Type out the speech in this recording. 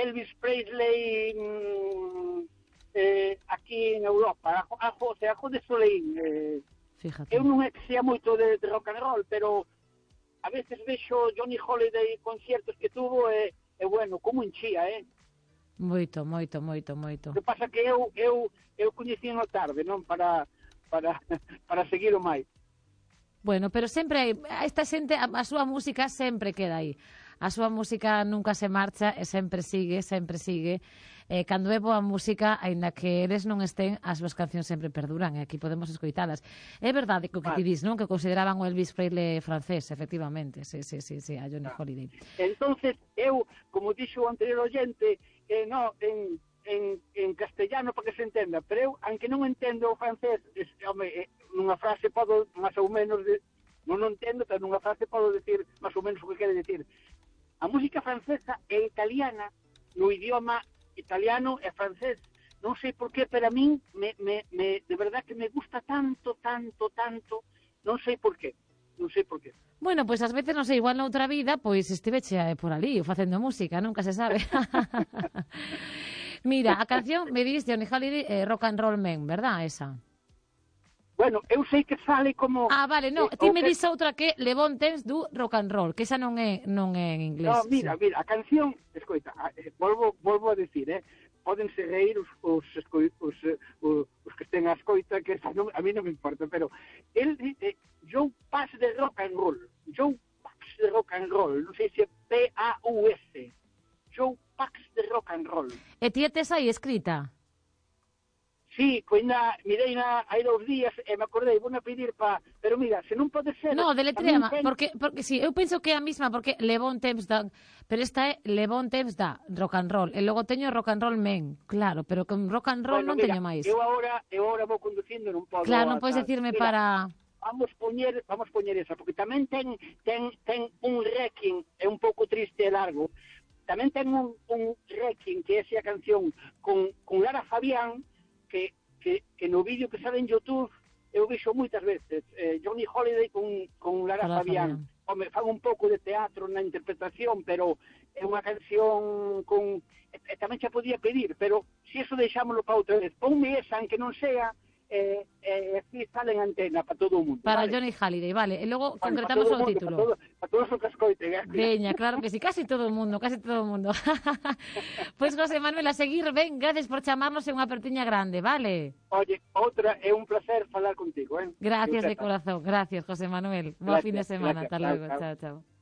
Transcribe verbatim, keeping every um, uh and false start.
Elvis Presley mm, eh, aquí en Europa, a, a José, a José Soleil. Eh, Fíjate. Eu non é que sea moito de, de rock and roll, pero a veces vexo Johnny Holiday conciertos que tuvo e, e bueno, como enchía, eh? Moito, moito, moito, moito. O que pasa que eu eu eu coñecían o tarde, non para para para seguir o máis. Bueno, pero sempre hai, esta xente, a, a súa música sempre queda aí. A súa música nunca se marcha e sempre sigue, sempre sigue. Eh, cando é boa música, aínda que eles non estén, as súas cancións sempre perduran e aquí podemos escoitalas. É verdade que o que ti dis, non? Que consideraban o Elvis Presley francés, efectivamente. Sí, sí, sí, sí, a Johnny Holiday. Entonces, eu, como dixo o anterior oyente, eh, no, en, en, en castellano para que se entenda, pero eu, aunque non entendo o francés, es, home, eh, nunha frase podo, máis ou menos, de, non o entendo, pero nunha frase podo decir máis ou menos o que quere decir. A música francesa e italiana, no idioma italiano e francés, non sei por qué, pero a min, me, me, me, de verdad que me gusta tanto, tanto, tanto, non sei por qué, non sei por qué. Bueno, pois pues, ás veces, non sei, igual noutra vida, pois estiveche por ali, facendo música, nunca se sabe. Mira, a canción, me dis, Johnny Holiday, eh, Rock and Roll Man, verdad, esa? Bueno, eu sei que sale como... Ah, vale, no, eh, ti me que... dis outra que Le Bon Temps du Rock and Roll, que esa non é non é en inglés. No, mira, sí. mira, a canción, escoita, volvo, volvo a decir, eh, pódense reír os, os, os, os, os que estén a escoita, que non, a mí non me importa, pero el dice, Joe Pax de Rock and Roll, Joe Pax de Rock and Roll, non sei se é P A U S, Joe Pax de Rock and Roll. E ti tes aí escrita? Sí, pois na, mirei na, hai dous días e me acordei, vou a pedir pa... Pero mira, se non pode ser... No, deletréama, ten... porque, porque sí, eu penso que é a mesma, porque Le Bon Temps da... Pero esta é Le Bon Temps da Rock and Roll, e logo teño Rock and Roll Men, claro, pero con Rock and Roll bueno, non mira, teño máis. Eu agora, eu agora vou conducindo, non podo... Claro, non podes decirme mira, para... Vamos poñer, vamos poñer esa, porque tamén ten, ten, ten un Requiem, é un pouco triste e largo, tamén ten un, un Requiem, que é esa canción, con, con Lara Fabián, que... Que, que no vídeo que sale en YouTube eu vexo moitas veces eh, Johnny Holiday con, con Lara Lara Fabián. Fabián. Home, fan un pouco de teatro na interpretación, pero é unha canción con... E, e tamén xa podía pedir, pero se eso deixámoslo para outra vez. Ponme esa, aunque non sea, eh, eh, así sale en antena para todo o mundo. Para vale? Johnny Holiday, vale. E logo Vale, concretamos o mundo, título. Para, todo, para todos os que escoiten. Eh? Veña, claro que sí, casi todo o mundo, casi todo o mundo. Pois, pues, José Manuel, a seguir, ben, gracias por chamarnos, é unha apertiña grande, vale? Oye, outra, é un placer falar contigo, eh? Gracias de corazón, gracias, José Manuel. Buen fin de semana, gracias, hasta chao, luego, chao. chao, chao.